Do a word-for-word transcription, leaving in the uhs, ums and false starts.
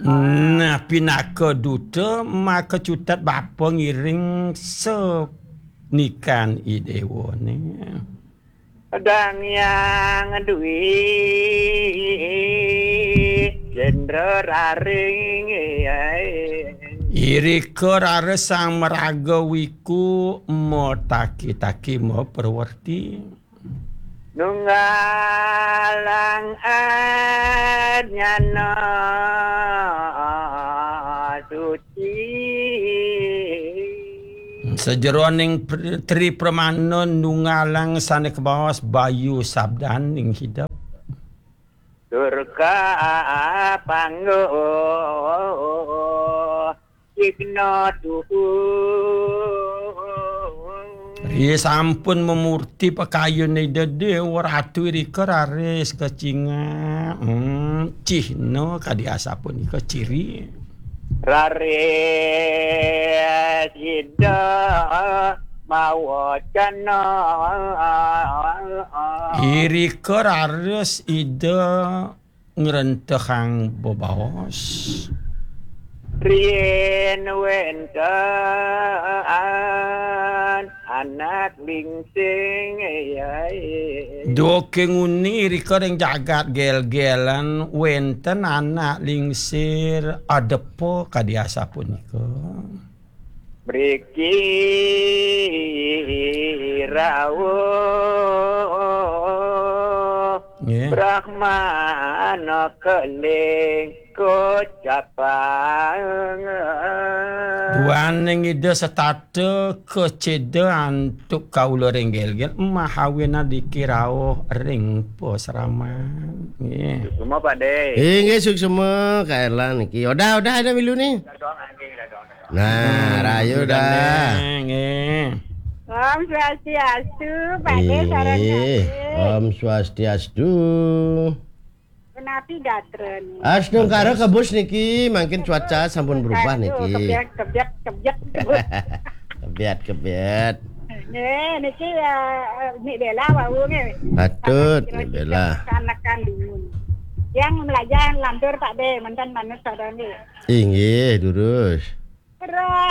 Nah, pinaka duta maka cutet bapa ngiring senikan i déwané. Dang Hyang Dwi Cendra Raring. Irika raris Sang Maraga Wiku mataki-taki maperwerti. Nunggalang adnyana suci. Sajeroning pr-, Tri Pramana nunggalang sané kabaos Bayu Sabdaning hidep. Durga panggo cigna tuhu. Ri sampun mamurti pakayun Ida Déwa Ratu irika raris kacingak. Hmm, cihna kadi asapunika ciri. Raris Ida mawacana. Irika raris Ida ngrentehang bebaos. Riin wénten anak lingsing, yai. Duké nguni irika ring jagat Gélgélan wénten anak lingsir adepa kadi asapunika. Mriki rawuh. Nggih. Brahmana keling kocapang. Duaning Ida setata keceda antuk kaula ring Gélgél, mahawinadiki rauh ring pasraman. Nggih. Suksma, Pak Dé. Inggih, suksma, Kak Erlan niki. Udah, udah ada milu nih. Nah, rayu dah. Nggih. Om Swastiastu, Pak Dé, sareng Ih, Pak Dé. Om Swastiastu. Punapi gatra niki? Astungkara kebus niki, mangkin cuaca sampun berubah niki. Kebyat, kebyat, kebyat. Kebyat, kebyat. Nggih, niki, eh, Nik Bella wau nggih. Patut, Nik Bella. Anak kandungan. Yang melajah lantur Pak Dé, mantan manut sadang nggih. Inggih, durus. Terus.